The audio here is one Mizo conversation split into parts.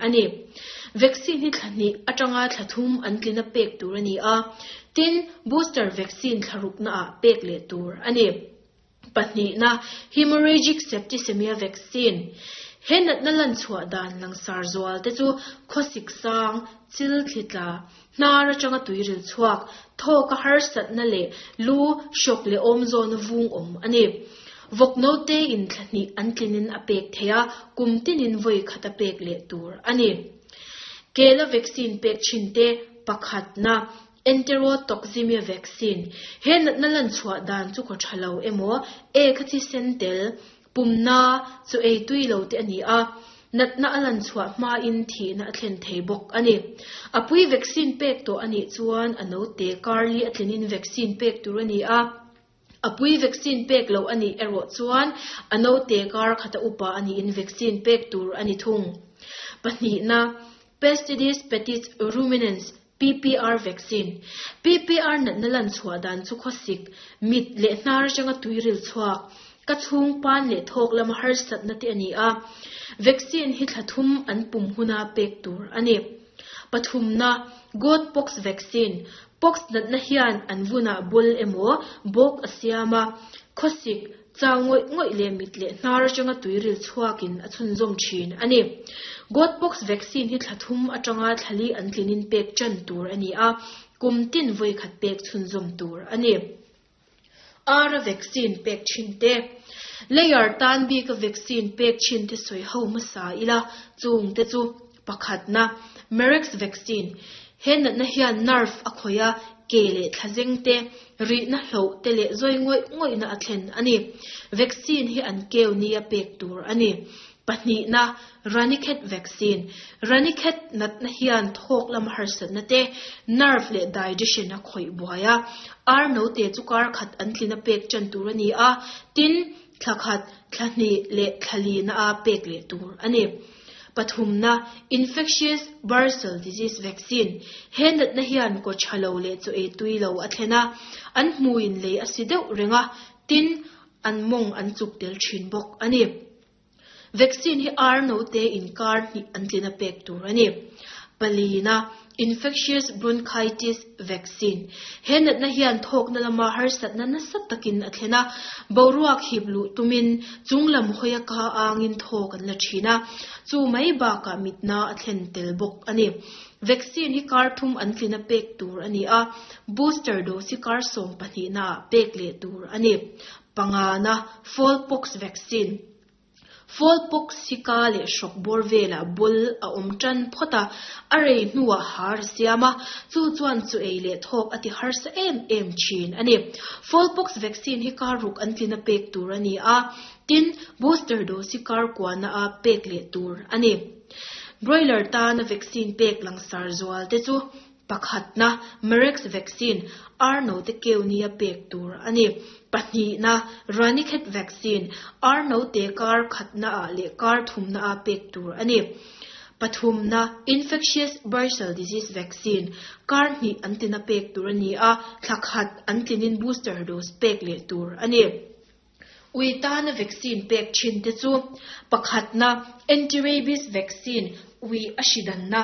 A ni. Vaccine hi thla hnih atanga thla thum an tlina pek tur a ni a, tin, booster vaccine thla ruknaah pek leh tur a ni. Pahnihna, Hemorrhagic septicemia vaccine. He natna lan chhuah dan langsar zual te chu khawsik sang, chil thli tla, hnar atanga tuiril chhuak, thawka harsatna leh lu, hrawk leh awm zawna vung awm a ni. Vawk note in thla hnih an tlinin a pek theih a, kum tinin vawi khat a pek leh tur a ni. Kela vaccine pek thin te pakhatna, Enterotoxemia vaccine. He natna lan chhuah dan chu khaw tha lo emaw, ek a thisen tel, pumna, chu ei tui lo te a ni a, natna a lan chhuah hmain thihna a thlen thei bawk a ni. A pui vaccine pek tawh a nih chuan a note karli a tlinin vaccine pek tur a ni a. A pui vaccine pek loh a nih erawh chuan a note kar khata upa a niin vaccine pek tur a ni thung. Pahnihna, Pestidis petits ruminants, PPR vaccine. PPR natna lan chhuah dan chu khawsik, mit leh hnar atanga tuiril chhuak, ka chhung pan leh thawk lama harsatna te a ni a. Vaccine hi thla thum an pum huna pek tur a ni. Pathumna, Goat pox vaccine. Pox natna hian an vunah bul emaw bawk a siam a, khawsik, chau ngawih ngawih leh mit leh hnar atanga tuiril chhuakin a chhunzawm thin a ni. Goat pox vaccine hi thla thum atanga thla li an tlinin pek tan tur a ni a, kum tin vawi khat pek chhunzawm tur a ni. Ara vaccine pek thin te. Layer tan bika vaccine pek thin te sawi ho hmasa ila, chung te chu, Pakhatna, Marek's vaccine. He natna hian nerve a khawih a, ke leh thlazeng te, rihna hloh te leh zawi ngawih ngawihna a thlen a ni. Vaccine hi an keu nia pek tur a ni. Pahnihna, Ranikhet vaccine. Ranikhet natna hian thawk lama harsatna te, nerve leh digestion a khawih buai a. Ar note chu kar khat an tlina pek tan tur a ni a, tin, thla khat, thla hnih leh thla lina a pek leh tur a ni. Pathumna, Infectious Bursal Disease Vaccine. He natna hian kaw tha lo leh chaw ei tui lo a thlen a, an hmuin lei a si deuh reng a, tin, an mawng an chuk tel thin bawk a ni. Vaccine hi ar note inkar hnih an tlina pek tur a ni. Palina, Infectious Bronchitis Vaccine. He natna hian thawkna lama harsatna nasa takin a thlen a, boruak hip luh tumin chung lam hawia ka angin thawk an la thin a, chu mai bakah mitna a thlen tel bawk a ni. Vaccine hi kar thum an tlina pek tur a ni a, booster dose hi kar 12 ah pek leh tur a ni. Pangana, Fowl pox vaccine. Fowl pox hi ka leh hrawk bawr velah bul a awm tan phawt a, a rei hnuah har a siam a, chu chuan chu ei leh thawk a ti harsa em em thin a ni. Fowl pox vaccine hi kar ruk an tlina pek tur a ni a, tin, booster dose hi kar kuana a pek leh tur a ni. Broiler tana vaccine pek langsar zual te chu Pakhatna, Marek's vaccine, ar note keu nia pek tur a ni. Pahnihna, Ranikhet vaccine, ar note kar khatnaah leh kar thumnaah pek tur a ni. Pathumna, Infectious Bursal Disease vaccine, kar hnih an tina pek tur a ni a, thla khat an tlinin booster dose pek leh tur a ni. Ui tana vaccine pek thin te chu, pakhatna, anti-rabies vaccine, ui a hri danna.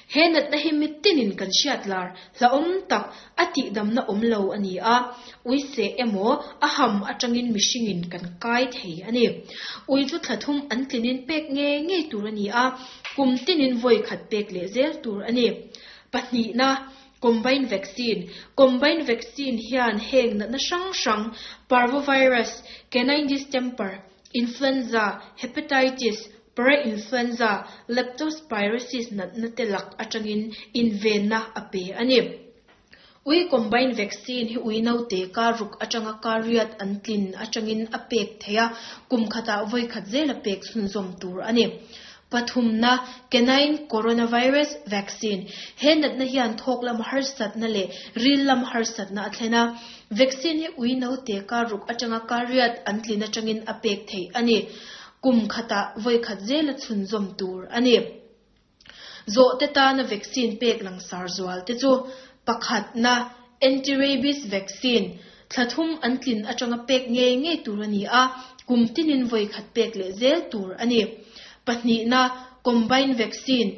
He natna hi mitinin kan hriat lar, hlauhawm tak, a tihdamna awm lo a ni a. Ui seh emaw, a ham atangin mihringin kan kai thei a ni. Ui chu thla thum an tlinin pek ngei ngei tur a ni a, kum tinin vawi khat pek leh zel tur a ni. Pahnihna, Combined vaccine, Combined vaccine hian heng natna hrang hrang, parvovirus, canine distemper, influenza, hepatitis, parainfluenza, leptospirosis natna te lak atangin invenna a pe a ni. Ui combined vaccine hi ui naute kar ruk atanga kar riat an tlin atangin a pek theih a, kum khatah vawi khat zel a pek chhunzawm tur a ni. Pathumna, Canine Coronavirus Vaccine, He natna hian thawk lam harsatna leh ril lam harsatna a thlen a. Vaccine hi ui naute kar ruk atanga kar riat an tlin atangin a pek theih a ni. Kum khatah vawi khat zela chhunzawm tur a ni. Zawhte tana vaccine pek langsar zual te chu, Pakhatna, Anti-rabies vaccine, thla thum an tlin atanga pek ngei ngei tur a ni a, kum tinin vawi khat pek leh zel tur a ni. Pahnihna, Combined vaccine.